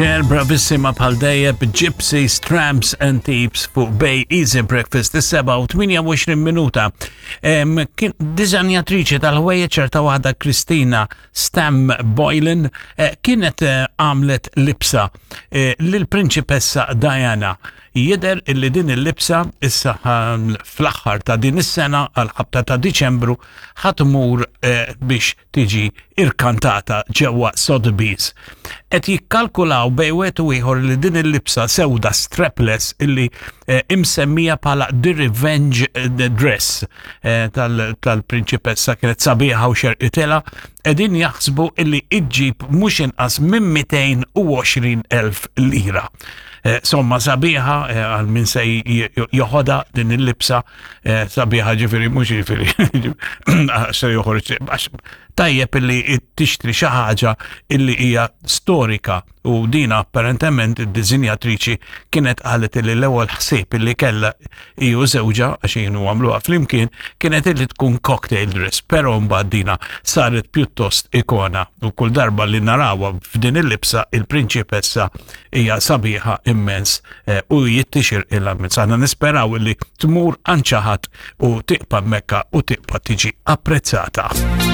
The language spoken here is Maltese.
Cher bravissima bħal dejjem Gypsies, Tramps and Thieves fuq Bay Easy Breakfast is-7 u 28 minuta. Kien diżanjatriċi tal-ħwejjeġ ċerta waħda Kristina Stam Boylan eh, kienet eh, għamlet libsa eh, lill-Prinċipessa Diana. Jidher illi din il-libsa issa fl-aħħar ta' din is-sena għal ħabta ta' Diċembru ħa tmur biex tiġi irkantata ġewwa Sotheby's. Qed jikkalkulaw bejn wieħed u ieħor li din il-libsa sewda strapless illi eh, imsemmija bħala The Revenge eh, Dress eh, tal-prinċipessa kienet sabiħa u xerqitela, qegħdin jaħsbu illi iġġib mhux inqas minn 220,000 lira. Somma sabiħa għal min se joħodha din il-libsa Eh, sabiħa ġifiri, mux ġifiri, se joħorġ, tajjeb illi tixtri xi ħaġa illi hija storika u dina apparentement id-dizinjatriċi kienet qalet illi l-ewwel ħsieb illi kellha iju żewġa għax kienu għamluha flimkien kienet illi tkun cocktail dress, però mbagħad dina saret pjuttost ikona u kull darba li narawha f'din il-libsa il-prinċipessa hija sabiħa immens eh, u jittixir il-ammens. Aħna nisperaw li tmur għand xi ħadd u tiqpa' Mekka u tiqpa' tiġi apprezzata.